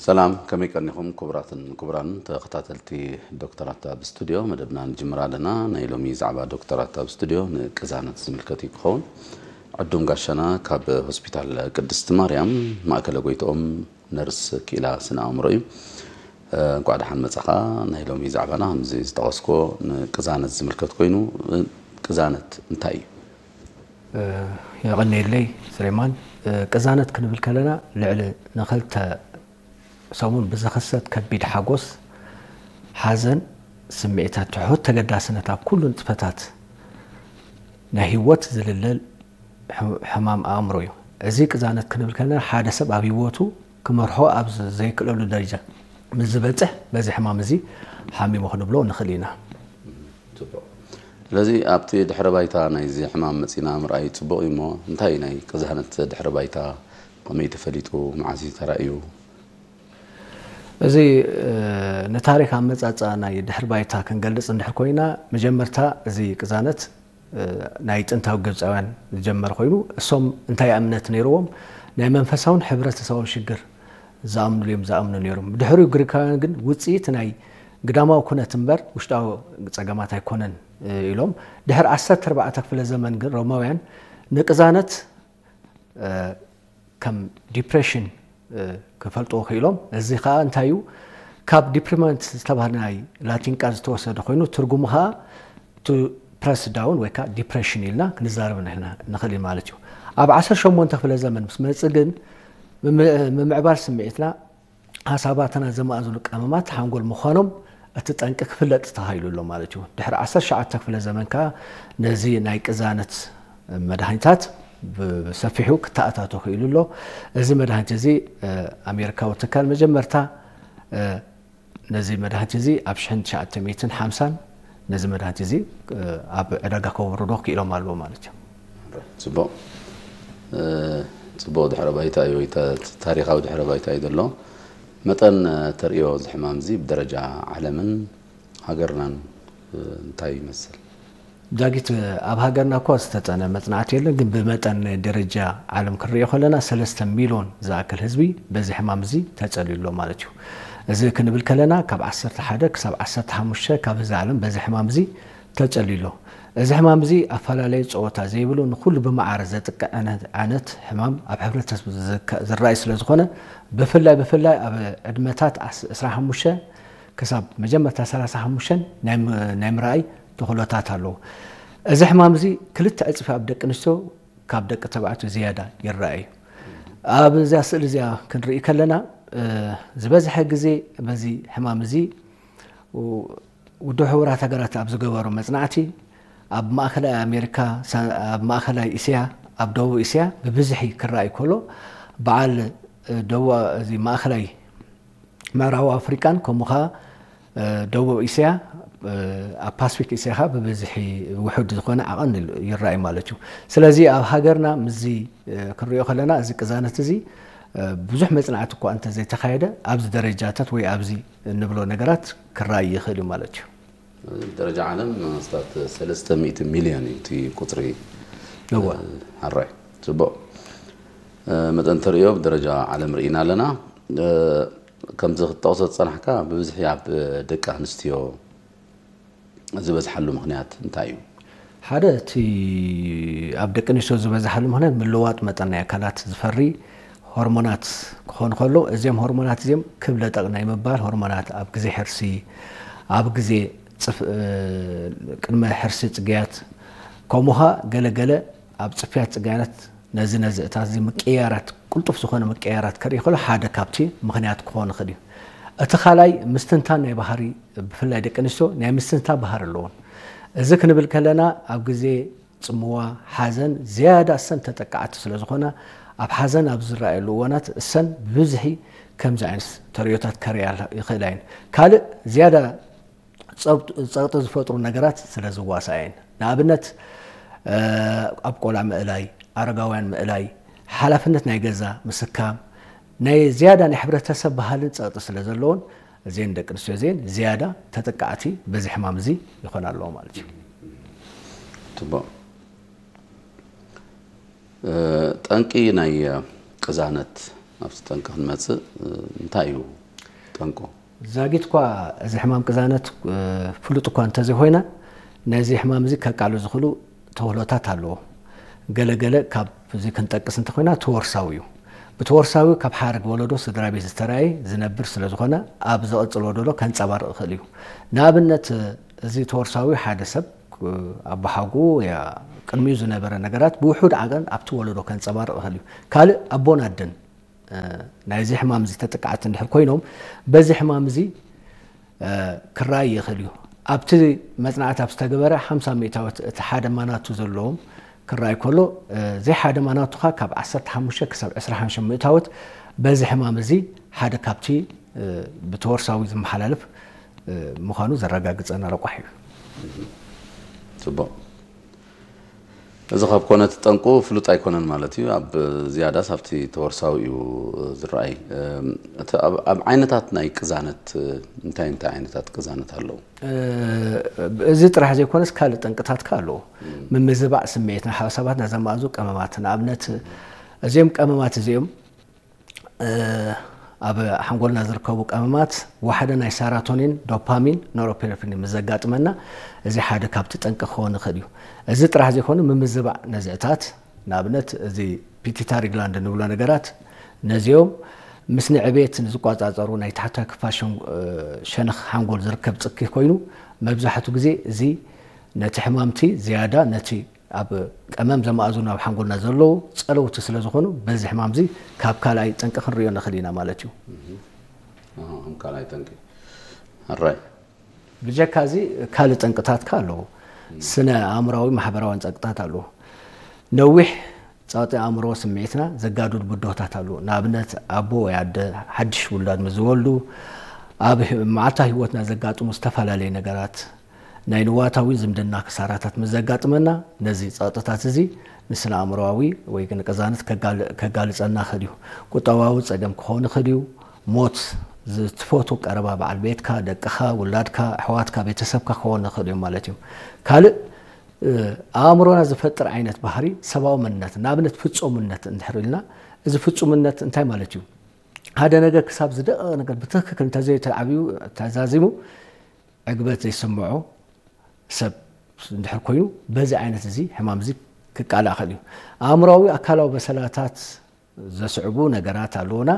ሰላም፣ ከመይ ቀኒኹም ክቡራትን ክቡራን ተኸታተልቲ ዶክተራት ኣብ ስቱድዮ? መደብና ንጅምር ኣለና። ናይ ሎሚ ዛዕባ ዶክተራት ኣብ ስቱድዮ ንቅዛነት ዝምልከት እዩ ክኸውን። ዕዱም ጋሻና ካብ ሆስፒታል ቅድስቲ ማርያም ማእከለ ጎይትኦም ነርስ ክኢላ ስነ ኣእምሮ እዩ። እንኳዕ ደሓን መጻኻ። ናይ ሎሚ ዛዕባና ከምዚ ዝጠቐስኮ ንቅዛነት ዝምልከት ኮይኑ፣ ቅዛነት እንታይ እዩ? የቐንየለይ ስሌማን። ቅዛነት ክንብል ከለና ልዕሊ ንክልተ ሰሙን ብዝኽሰት ከቢድ ሓጎስ፣ ሓዘን፣ ስምዒታት ትሑት ተገዳስነት ኣብ ኩሉ ንጥፈታት ናይ ህይወት ዝልለል ሕማም ኣእምሮ እዩ። እዚ ቅዛነት ክንብል ከለና ሓደ ሰብ ኣብ ህይወቱ ክመርሖ ኣብ ዘይክእለሉ ደረጃ ምስ ዝበፅሕ በዚ ሕማም እዚ ሓሚሙ ክንብሎ ንኽእል ኢና። ጽቡቕ። ስለዚ ኣብቲ ድሕረ ባይታ ናይዚ ሕማም መጺና ምርኣይ ጽቡቕ እዩ እሞ እንታይ እዩ ናይ ቅዛነት ድሕረ ባይታ? ከመይ ተፈሊጡ? መዓስ እዩ ተራእዩ? እዚ ንታሪክ ኣመጻጽኣ ናይ ድሕሪ ባይታ ክንገልጽ እንድሕር ኮይና፣ መጀመርታ እዚ ቅዛነት ናይ ጥንታዊ ግብፃውያን ዝጀመረ ኮይኑ፣ እሶም እንታይ እምነት ነይርዎም? ናይ መንፈሳውን ሕብረተሰባውን ሽግር ዝኣምኑሉ እዮም ዝኣምኑ ነይሮም። ብድሕሪኡ ግሪካውያን ግን ውፅኢት ናይ ግዳማዊ ኩነት እምበር ውሽጣዊ ፀገማት ኣይኮነን ኢሎም። ድሕሪ ዓሰርተ ኣርባዕተ ክፍለ ዘመን ግን ሮማውያን ንቅዛነት ከም ዲፕሬሽን ክፈልጥዎ ክኢሎም። እዚ ከዓ እንታይ እዩ? ካብ ዲፕሪመንት ዝተባህለ ናይ ላቲን ቃል ዝተወሰደ ኮይኑ ትርጉሙ ከዓ ቱ ፕረስ ዳውን ወይ ከዓ ዲፕሬሽን ኢልና ክንዛረብ ንሕና ንኽእል ማለት እዩ። ኣብ ዓሰርተ ሸሞንተ ክፍለ ዘመን ምስ መፅእ ግን ምምዕባል ስምዒትና ሓሳባትና ዘማእዝኑ ቀመማት ሓንጎል ምዃኖም እቲ ጠንቂ ክፍለጥ ተኻኢሉ ኣሎ ማለት እዩ። ድሕሪ ዓሰርተ ትሽዓተ ክፍለ ዘመን ከዓ ነዚ ናይ ቅዛነት መድሃኒታት ብሰፊሑ ክተኣታቶ ክኢሉ ኣሎ። እዚ መድሃኒት እዚ ኣሜሪካዊ ትካል መጀመርታ ነዚ መድሃኒት እዚ ኣብ ሽሕን ትሽዓተ ሚእትን ሓምሳን ነዚ መድሃኒት እዚ ኣብ ዕዳጋ ከውርዶ ክኢሎም ኣለዎ ማለት እዩ። ጽቡቕ ጽቡቕ ድሕረ ባይታ እዩ ወይ ታሪኻዊ ድሕረ ባይታ እዩ ዘሎ። መጠን ተርእዮ እዚ ሕማም እዚ ብደረጃ ዓለምን ሃገርናን እንታይ ይመስል? ዳጊት ኣብ ሃገርና እኳ ዝተጠነ መጽናዕቲ የለን፣ ግን ብመጠን ደረጃ ዓለም ክንሪኦ ከለና ሰለስተ ሚልዮን ዝኣክል ህዝቢ በዚ ሕማም እዚ ተጸልዩ ኣሎ ማለት እዩ። እዚ ክንብል ከለና ካብ ዓሰርተ ሓደ ክሳብ ዓሰርተ ሓሙሽተ ካብ ህዝቢ ዓለም በዚ ሕማም እዚ ተጸልዩ ኣሎ። እዚ ሕማም እዚ ኣፈላለየ ጸወታ ዘይብሉ ንኹሉ ብመዓረ ዘጥቅዕ ዓይነት ሕማም ኣብ ሕብረተሰብ ዝረኣይ ስለ ዝኾነ ብፍላይ ብፍላይ ኣብ ዕድመታት ዕስራ ሓሙሽተ ክሳብ መጀመርታ ሰላሳ ሓሙሽተ ናይ ምርኣይ ተኽእሎታት ኣለዎ። እዚ ሕማም እዚ ክልተ ዕፅፊ ኣብ ደቂ ኣንስትዮ ካብ ደቂ ተባዕትዮ ዝያዳ ይረኣ እዩ። ኣብዛ ስእሊ እዚኣ ክንርኢ ከለና ዝበዝሐ ግዜ በዚ ሕማም እዚ ውድብ ሕቡራት ሃገራት ኣብ ዝገበሮ መፅናዕቲ ኣብ ማእከላይ ኣሜሪካ፣ ኣብ ማእከላይ እስያ፣ ኣብ ደቡብ እስያ ብብዝሒ ክረኣይ ከሎ በዓል ደቡብ እዚ ማእከላይ ምዕራብ ኣፍሪቃን ከምኡ ኸዓ ደቡብ እስያ ኣብ ፓስፊክ እስያ ኸዓ ብብዝሒ ውሑድ ዝኾነ ዓቐን ይረኣይ ማለት እዩ። ስለዚ ኣብ ሃገርና ምስዚ ክንሪኦ ከለና እዚ ቅዛነት እዚ ብዙሕ መፅናዕቲ እኳ እንተዘይተኻየደ ኣብዚ ደረጃታት ወይ ኣብዚ እንብሎ ነገራት ክረኣይ ይኽእል እዩ ማለት እዩ። ደረጃ ዓለም ኣስታት ሰለስተ ሚእቲ ሚልዮን እዩ እቲ ቁፅሪ። እወ። ሕራይ። ጽቡቕ። መጠን ተርእዮ ብደረጃ ዓለም ርኢና ኣለና። ከምዚ ክትጠቕሶ ዝጸናሕካ ብብዝሒ ኣብ ደቂ ኣንስትዮ ዝበዝሓሉ ምኽንያት እንታይ እዩ? ሓደ እቲ ኣብ ደቂ ኣንስትዮ ዝበዝሓሉ ምኽንያት ምልዋጥ መጠን ናይ ኣካላት ዝፈሪ ሆርሞናት ክኾን ከሎ እዚኦም ሆርሞናት እዚኦም ክብ ለጠቕ ናይ ምባል ሆርሞናት ኣብ ግዜ ሕርሲ ኣብ ግዜ ቅድመ ሕርሲ ጽግያት ከምኡ ኸዓ ገለ ገለ ኣብ ጽፍያት ጽግያት ነዚ ነዚ እታ እዚ ምቅያራት ቅልጡፍ ዝኾነ ምቅያራት ከርኢ ከሎ ሓደ ካብቲ ምኽንያት ክኾን ይኽእል እዩ። እቲ ካልኣይ ምስትንታን ናይ ባህሪ ብፍላይ ደቂ ኣንስትዮ ናይ ምስትንታን ባህሪ ኣለዎን። እዚ ክንብል ከለና ኣብ ግዜ ጽምዋ፣ ሓዘን ዝያዳ እሰን ተጠቃዕቲ ስለ ዝኾና ኣብ ሓዘን ኣብ ዝረኣየሉ እዋናት እሰን ብብዝሒ ከምዚ ዓይነት ተርእዮታት ከርእያ ይኽእላ እየን። ካልእ ዝያዳ ጸቕጢ ዝፈጥሩ ነገራት ስለ ዝዋስኣ እየን። ንኣብነት ኣብ ቆልዓ ምእላይ፣ ኣረጋውያን ምእላይ፣ ሓላፍነት ናይ ገዛ ምስካም ናይ ዝያዳ ናይ ሕብረተሰብ ባህልን ጸቕጢ ስለ ዘለዎን እዘን ደቂ ኣንስትዮ እዚአን ዝያዳ ተጠቃዕቲ በዚ ሕማም እዚ ይኾና ኣለዋ ማለት እዩ። ጽቡቕ። ጠንቂ ናይ ቅዛነት ኣብቲ ጠንቂ ክንመፅእ፣ እንታይ እዩ ጠንቁ? ዛጊት እኳ እዚ ሕማም ቅዛነት ፍሉጥ እኳ እንተዘይኮይና፣ ነዚ ሕማም እዚ ከቃሉ ዝኽእሉ ተውህሎታት ኣለዎ። ገለገለ ካብ እዚ ክንጠቅስ እንተኮይና፣ ተወርሳዊ እዩ። ብተወርሳዊ ካብ ሓረግ ወለዶ ስድራ ቤት ዝተራእየ ዝነብር ስለዝኾነ፣ ኣብ ዝቐጽል ወለዶ ከንጸባርቕ ይኽእል እዩ። ንኣብነት፣ እዚ ተወርሳዊ ሓደ ሰብ ኣቦሓጉ ያ ቅድሚኡ ዝነበረ ነገራት ብውሑድ ዓቐን ኣብቲ ወለዶ ከንጸባርቕ ይኽእል እዩ። ካልእ ኣቦን ኣደን ናይዚ ሕማም እዚ ተጠቃዕቲ እንድሕር ኮይኖም፣ በዚ ሕማም እዚ ክረኣይ ይኽእል እዩ። ኣብቲ መጽናዕቲ ኣብ ዝተገበረ ሓምሳ ሚእታዊት እቲ ሓደ ማናቱ ዘለዎም ክረኣይ ከሎ፣ ዘይሓደ ማናቱኻ ካብ ዓሰርተ ሓሙሽተ ክሳብ ዕስራ ሓሙሽተ ሚእታዊት በዚ ሕማም እዚ ሓደ ካብቲ ብተወርሳዊ ዝመሓላለፍ ምዃኑ ዘረጋግጸና ረቋሒ እዩ። ጽቡቕ። እዚ ካብ ኮነ እቲ ጠንቁ ፍሉጥ ኣይኮነን ማለት እዩ። ኣብ ዝያዳስ ኣብቲ ተወርሳዊ እዩ ዝረኣይ። እቲ ኣብ ዓይነታት ናይ ቅዛነት እንታይ እንታይ ዓይነታት ቅዛነት ኣለዉ? እዚ ጥራሕ ዘይኮነስ ካልእ ጠንቅታትካ ኣለዎ። ምምዝባዕ ስምዒት ናይ ሓሳባትና ዘማእዙ ቀመማት፣ ንኣብነት እዚኦም ቀመማት እዚኦም ኣብ ሓንጎልና ዝርከቡ ቀመማት ዋሕደ ናይ ሰራቶኒን፣ ዶፓሚን፣ ኖሮፔርፊኒን ምስ ዘጋጥመና፣ እዚ ሓደ ካብቲ ጠንቂ ክኸውን ይኽእል እዩ። እዚ ጥራሕ ዘይኮነ፣ ምምዝባዕ ነዚ እታት፣ ንኣብነት እዚ ፒቲታሪ ግላንድ እንብሎ ነገራት፣ ነዚኦም ምስ ንዕቤት ንዝቋጻጸሩ ናይ ታሕታይ ክፋል ሸነኽ ሓንጎል ዝርከብ ጽኪ ኮይኑ፣ መብዛሕቱ ግዜ እዚ ነቲ ሕማምቲ ዝያዳ ነቲ ኣብ ቀመም ዘማእዝኑ ኣብ ሓንጎልና ዘለዉ ጸለውቲ ስለ ዝኾኑ፣ በዚ ሕማም እዚ ካብ ካልኣይ ጠንቂ ክንርእዮ ንኽእል ኢና ማለት እዩ። ከም ካልኣይ ጠንቂ። ሕራይ። ብጀካ እዚ ካልእ ጠንቅታትካ ኣለዉ። ስነ ኣእምራዊ ማሕበራዊ ጠንቅታት ኣለዉ። ነዊሕ ጸቕጢ ኣእምሮ ስምዒትና ዘጋድዱ ብድሆታት ኣለዉ። ንኣብነት ኣቦ ወይ ኣደ ሓድሽ ውላድ ምስ ዝወልዱ ኣብ መዓልታዊ ህይወትና ዘጋጥሙ ዝተፈላለዩ ነገራት ናይ ንዋታዊ ዝምድና ክሳራታት ምስ ዘጋጥመና፣ ነዚ ጸቕጥታት እዚ ንስነ ኣእምሮኣዊ ወይ ግን ቅዛነት ከጋልጸና ይኽእል እዩ። ቁጠባዊ ጸገም ክኸውን ይኽእል እዩ። ሞት ዝትፈቱ ቀረባ በዓል ቤትካ፣ ደቅኻ፣ ውላድካ፣ ኣሕዋትካ፣ ቤተሰብካ ክኸውን ይኽእል እዮም ማለት እዮም። ካልእ ኣእምሮና ዝፈጥር ዓይነት ባህሪ ሰብኣዊ መንነት፣ ንኣብነት ፍጹምነት እንድሕር ኢልና፣ እዚ ፍጹምነት እንታይ ማለት እዩ? ሓደ ነገር ክሳብ ዝደቐቐ ነገር ብትኽክል እንተዘይተዓብዩ ተዛዚሙ ዕግበት ዘይስምዖ ሰብ እንድሕር ኮይኑ፣ በዚ ዓይነት እዚ ሕማም እዚ ክቃላእ ይኽእል እዩ። ኣእምሮኣዊ ኣካላዊ በሰላታት ዘስዕቡ ነገራት ኣለዉና።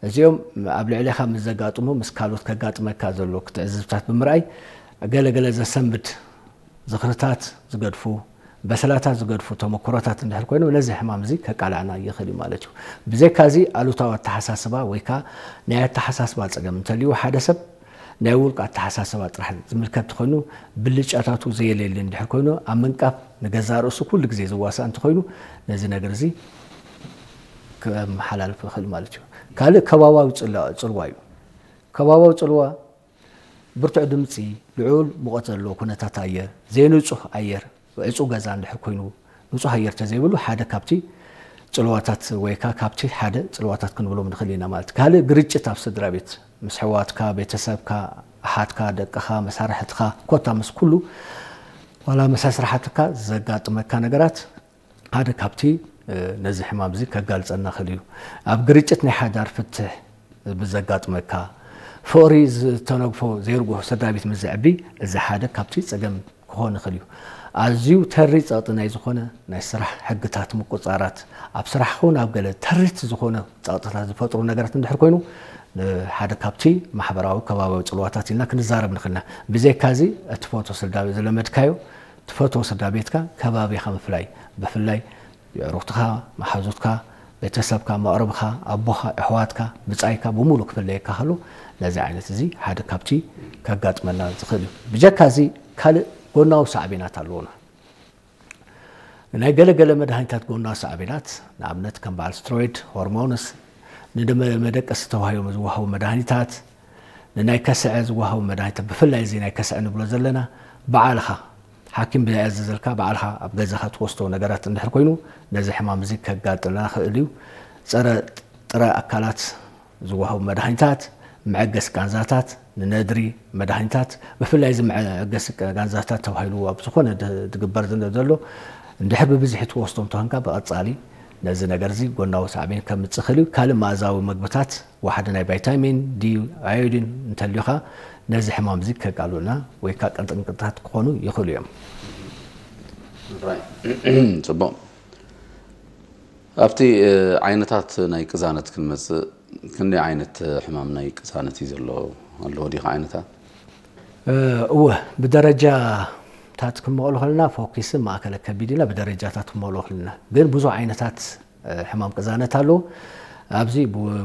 እዚኦም ኣብ ልዕሌኻ ምስ ዘጋጥሙ፣ ምስ ካልኦት ከጋጥመካ ዘሎ ክትዕዝብታት ብምርኣይ፣ ገለገለ ዘሰንብድ ዝኽርታት ዝገድፉ፣ በሰላታት ዝገድፉ ተመክሮታት እንድሕር ኮይኑ፣ ነዚ ሕማም እዚ ከቃልዓና ይኽእል እዩ ማለት እዩ። ብዘይካ እዚ፣ ኣሉታዊ ኣተሓሳስባ ወይ ከዓ ናይ ኣተሓሳስባ ጸገም እንተልዩ ሓደ ሰብ፣ ናይ ውልቂ ኣተሓሳስባ ጥራሕ ዝምልከት ኮይኑ፣ ብልጫታቱ ዘየለየለ እንድሕር ኮይኑ፣ ኣብ ምንቃፍ ንገዛእ ርእሱ ኩሉ ግዜ ዝዋሳእ እንተኮይኑ፣ ነዚ ነገር እዚ ከመሓላልፍ ይኽእል ማለት እዩ። ካልእ ከባባዊ ጽልዋ እዩ። ከባባዊ ጽልዋ ብርቱዕ ድምጺ፣ ልዑል ሙቐት ዘለዎ ኩነታት ኣየር፣ ዘይንጹህ ኣየር፣ ዕጹው ገዛ እንድሕር ኮይኑ፣ ንጹህ ኣየር ተዘይብሉ ሓደ ካብቲ ጽልዋታት ወይ ከኣ ካብቲ ሓደ ጽልዋታት ክንብሎም ንኽእል ኢና ማለት እዩ። ካልእ ግርጭት ኣብ ስድራ ቤት፣ ምስ ኣሕዋትካ፣ ቤተሰብካ፣ ኣሓትካ፣ ደቅኻ፣ መሳርሕትኻ፣ ኮታ ምስ ኩሉ ዋላ ምስ ኣስራሕትካ ዘጋጥመካ ነገራት ሓደ ካብቲ ነዚ ሕማም እዚ ከጋልጸና ይኽእል እዩ። ኣብ ግርጭት ናይ ሓዳር ፍትሕ ብዘጋጥመካ፣ ፍቕሪ ዝተነግፎ ዘይርጉህ ስድራ ቤት ምስ ዘዕቢ፣ እዚ ሓደ ካብቲ ጸገም ክኾን ይኽእል እዩ። ኣዝዩ ተሪ ጸቕጢ ናይ ዝኾነ ናይ ስራሕ ሕግታት ምቁጽጻራት፣ ኣብ ስራሕ ክኹን ኣብ ገለ ተሪት ዝኾነ ጸቕጥታት ዝፈጥሩ ነገራት እንድሕር ኮይኑ፣ ሓደ ካብቲ ማሕበራዊ ከባቢያዊ ጽልዋታት ኢልና ክንዛረብ ንኽእል ኢና። ብዘይካ እዚ፣ እቲ ፎቶ ስድራ ቤት ዝለመድካዮ፣ ትፈትዎ ስድራ ቤትካ፣ ከባቢኻ ምፍላይ፣ ብፍላይ የዕሩኽትኻ፣ መሓዙትካ፣ ቤተሰብካ፣ መቕርብኻ፣ ኣቦኻ፣ ኣሕዋትካ፣ ብጻይካ ብምሉእ ክፍለየካ ከሎ፣ ነዚ ዓይነት እዚ ሓደ ካብቲ ከጋጥመና ዝኽእል እዩ። ብጀካ እዚ ካልእ ጎናዊ ሳዕቤናት ኣለዉና። ናይ ገለ ገለ መድሃኒታት ጎናዊ ሳዕቤናት፣ ንኣብነት ከም በዓል ስትሮይድ፣ ሆርሞንስ፣ ንደመ መደቀሲ ተባሂሎም ዝወሃቡ መድሃኒታት፣ ንናይ ከስዐ ዝወሃቡ መድሃኒታት፣ ብፍላይ እዚ ናይ ከስዐ ንብሎ ዘለና፣ ባዕልኻ ሓኪም ብዘይኣዘዘልካ ባዕልኻ ኣብ ገዛኻ ትወስዶ ነገራት እንድሕር ኮይኑ፣ ነዚ ሕማም እዚ ከጋጥመና ይኽእል እዩ። ጸረ ጥረ ኣካላት ዝወሃቡ መድሃኒታት፣ መዐገሲ ቃንዛታት፣ ንነድሪ መድሃኒታት፣ ብፍላይ እዚ መዐገሲ ቃንዛታት ተባሂሉ ኣብ ዝኾነ ድ- ዝግበር ዘሎ እንድሕር ብብዝሒ ትወስዶ እንተኾንካ ብቐጻሊ ነዚ ነገር እዚ ጎናዊ ሳዕቤን ከምጽእ ይኽእል እዩ። ካልእ መኣዛዊ መግብታት፣ ዋሕዲ ናይ ቫይታሚን ዲ፣ ኣዮዲን እንተልዩኻ፣ ነዚ ሕማም እዚ ከቃልሉና ወይ ከዓ ቀንጥንቅጥታት ክኾኑ ይኽእሉ እዮም። ጽቡቕ። ኣብቲ ዓይነታት ናይ ቅዛነት ክንመጽእ፣ ክንደይ ዓይነት ሕማም ናይ ቅዛነት እዩ ዘሎ? ኣለዎ ዲኻ ዓይነታት? እወ፣ ብደረጃታት ክንመቕሎ ከለና፣ ፎኪስን ማእከለ ከቢድ ኢልና ብደረጃታት ክንመቕሎ ከለና፣ ግን ብዙሕ ዓይነታት ሕማም ቅዛነት ኣለዉ። ኣብዚ